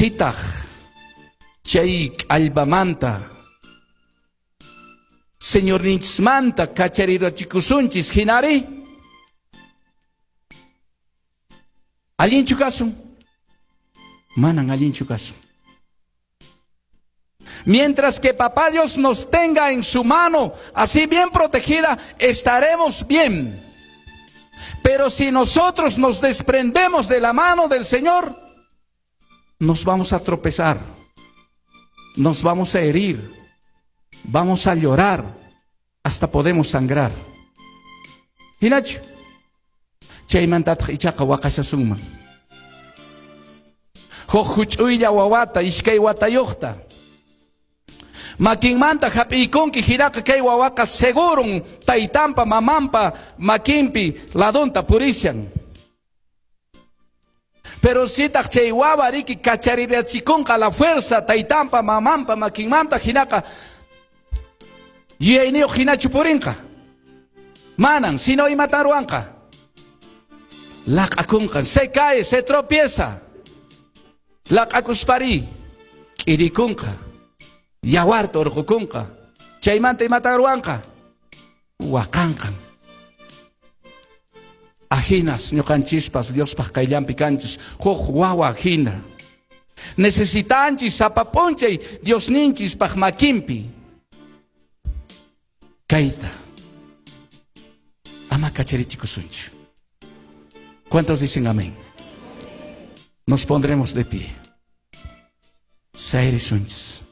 Sitaq chay k'allpamanta Señorninchismanta kacharirachicusunchis hinari, allinchu kasun? Manan allinchu kasun. Mientras que Papá Dios nos tenga en su mano, así bien protegida, estaremos bien. Pero si nosotros nos desprendemos de la mano del Señor, nos vamos a tropezar, nos vamos a herir, vamos a llorar, hasta podemos sangrar. Hinachu, chaymantataq ichaqa waqashasunman. Huk huch'uylla wawata, iskay watayuqta. Makinmanta hap'iykunki hinaqa kay wawaqa segurun taytanpa mamanpa makinpi ladonta purishan. Pero sitaq chay wawa riki kacharirachikunqa la fuerza taytanpa mamanpa makinmanta hinaqa yuyayniyuq hinachu purinqa. Manan, sino imatan ruwanqa. Laq'akunqan, se cae, se tropieza. Laq'akuspari k'irikunqa, yawarta urqukunqa. Chaymanta imatan ruwanqa? Waqanqan. Ahinas ñuqanchispas Diospaq qayllanpi kanchis huk wawa hina. Necesitanchis sapa p'unchay Diosninchispaq makinpi. Kayta. Ama kacharichikusunchu. ¿Cuántos dicen amén? Nos pondremos de pie. Sayarisunchis.